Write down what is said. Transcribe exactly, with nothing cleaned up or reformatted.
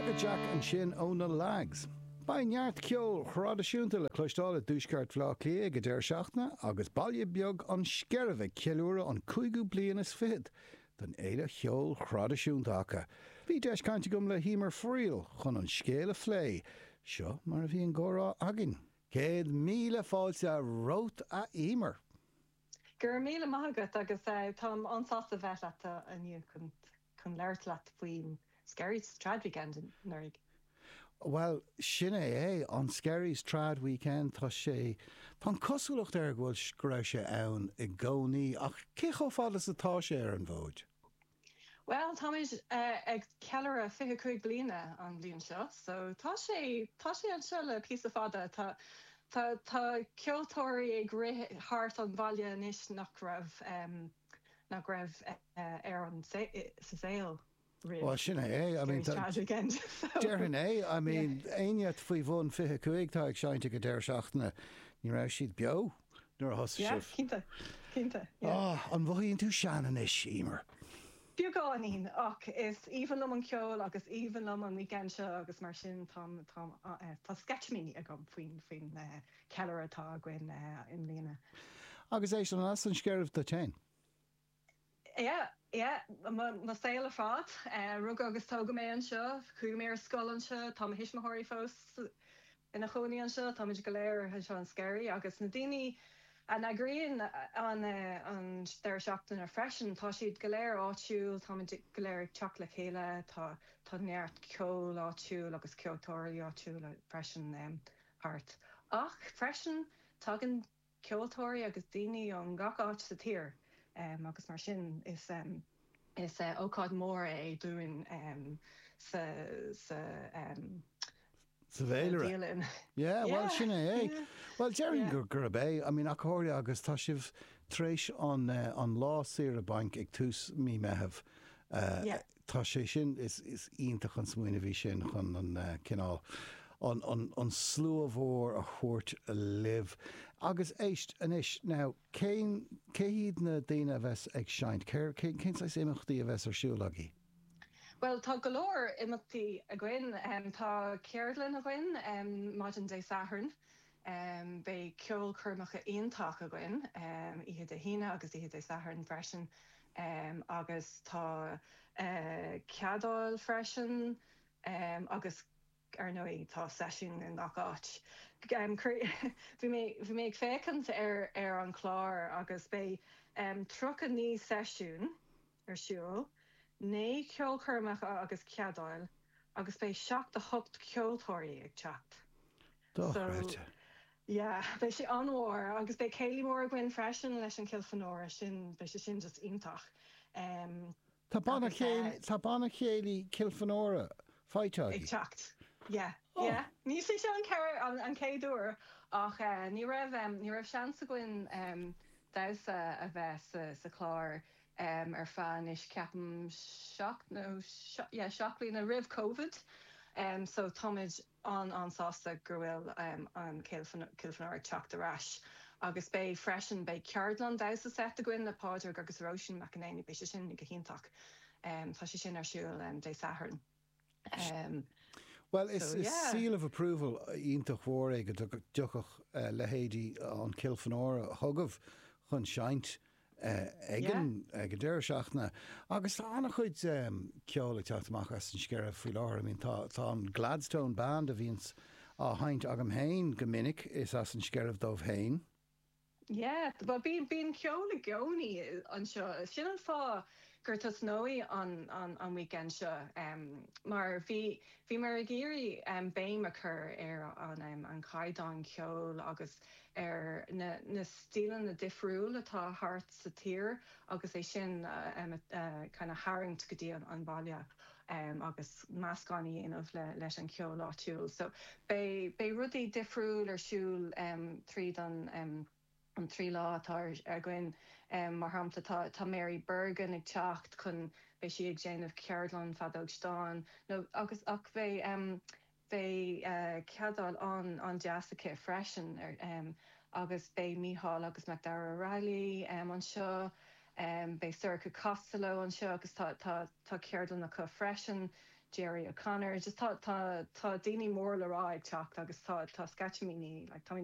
Crooked Jack ansin ó na Lags. Beidh neart ceoil thraidisiúnta le cloisteáil i dtuaisceart Bhaile Átha Cliath ag an deireadh seachtaine agus baile beag an Sceirbh ag ceiliúradh an cúigiú bliain is fichead den fhéile cheoil thraidisiúnta acu. Bhí deis cainte agam le hEmer Friel chun an scéal a phlé. Seo mar a bhí an comhrá againn. Céad míle fáilte romhat a Emer. Go raibh míle maith agat agus táim an-sásta bheith leat inniu chun chun labhairt leat faoin Skerries Trad Weekend anuraidh. Well, sin é é an Skerries Trad Weekend tá sé Tá cosúlacht air go bhfuil go raibh sé ann i gcónaí ach cé chomh fada is atá sé ar an bhfód. Well táimid uh, ag ceiliúradh fiche cúig bliana an bhliain seo, so tá sé tá sé anseo le píosa fada tá Tá tá ceoltóirí ag rith thart an bhaile anois nach raibh um, nach raibh uh, ar an sa saol. Well sin é I mean Déarfainn é I mean éinne faoi bhun fiche cúig tá ag seinnt ag an deireadh seachtaine ní raibh siad beo nuair a thosaigh sibh. Cinnte cinnte. An mothaíonn tú sean anois Emer. Beagáinín ach is aoibhinn liom an ceol agus aoibhinn liom an weekend seo agus mar sin tá tá sceitimíní agam faoin faoin ceiliúradh atá againn i mbliana. Agus é an as an Sceirbh duit féin. Yeah, yeah, mo saol ar fad rugadh agus tógadh mé anseo, chuaigh mé ar scoil anseo, tá mo thuismitheoirí fós ina gcónaí anseo, táimid go léir anseo an Skerry agus na daoine a eagraíonn an an deireadh seachtaine freisin, tá siad go léir áitiúil, táimid go léir ag teacht le chéile, tá tá neart ceol áitiúil agus ceoltóirí áitiúla freisin um, thart. Ach freisin tagann ceoltóirí agus daoine ón gach áit sa tír um, agus mar sin is um, is uh, ócáid mór é dúinn um, sa sa um, Sa bhféilire. Yeah, well sin é é. Well déarfainn gur gurb é, I mean acóir agus tá sibh tar éis an uh, an lá saoire bainc ag tús mí Mheithimh. Uh, Yeah. Tá sé sin is, is iontach an smaoineamh é sin chun an uh, cineál an, an, an slua mhór a thabhairt libh. Agus éist anois now cén cé hiad na daoine a bheas ag seinnt, cén cén saghas imeachtaí a bheas ar siúl agaibh? Well tá go leor imeachtaí againn um, tá ceardlann againn um, maidin Dé Sathairn. Um, beidh ceolchoirmeacha iontach againn um, oíche Dé hAoine agus oíche Dé Sathairn freisin um, agus tá uh, ceadáil freisin um, agus ar ndóigh tá seisiún in gach áit. Um, bhí mé bhí mé ag féachaint ar ar an chlár agus beidh um, tríocha naoi seisiún ar siúl, naoi ceolchoirmeacha agus ceadáil agus beidh seacht a hocht ceoltóirí ag teacht. Dochreidte. Yeah, beidh sé an-mhór agus beidh céilí mór againn freisin leis an Kilfenora sin beidh sé sin just iontach. Um, Tá banna Agus, uh, tá banna céilí Kilfenora faighte ag teacht. Yeah, Oh. yeah. Ní sé seo an ceir an, an chéad uair ach uh, ní raibh um, ní raibh seans againn um, damhsa a bheith sa, sa chlár um, ar feadh anois ceapaim seacht nó yeah, seacht bliana roimh COVID. Um, so táimid an an-sásta go bhfuil um, an Kilfenora ag teacht ar ais. Agus beidh freisin beidh ceardlann damhsa seit againn le Pádraig agus Róisín McEnany beidh sé sin go hiontach. Um, tá sé sin ar siúl um, Dé Sathairn. Um, Well is, So, is yeah. seal of approval iontach mhór é go dtiocfadh uh, leithéidí an Kilfenora chugaibh chun seinnt uh, ag an ag an deireadh seachtaine. Agus tá an-chuid um, ceol ag teacht amach as an Sceirbh faoi láthair. I mean, tá, tá an Gladstone Band a bhíonns á sheinnt agam féin go minic is as an Sceirbh dóibh féin. Yeah, well bíonn bíonn ceol i gcónaí anseo. Sin an fáth gur tosnaíodh an, an, an weekend seo um, mar bhí bhí mar ag iarraidh um, béim a chur ar an, um, an caighdeán ceoil agus ar na, na stíleanna difriúla atá thart sa tír agus é sin uh, um, uh, kind of tharraingt go dtí an, an baile. Um, agus meascán a dhéanamh le, leis an ceol áitiúil. So beidh beidh rudaí difriúil ar siúl um, tríd an um, an trí lá atá againn um, mar shampla tá tá Mary Bergen ag teacht chun beidh sí ag déanamh ceardlann feadóg stáin nó agus ach bheidh um, bheidh uh, ceadáil an an-deas aici freisin ar um, agus beidh Mícheál agus Macdara O'Reilly um, anseo um, beidh Sorcha Costello anseo agus tá tá tá ceardlann acu freisin. Jerry O'Connor just tá tá tá daoine mór le rá ag teacht agus tá tá sceitimíní like, tá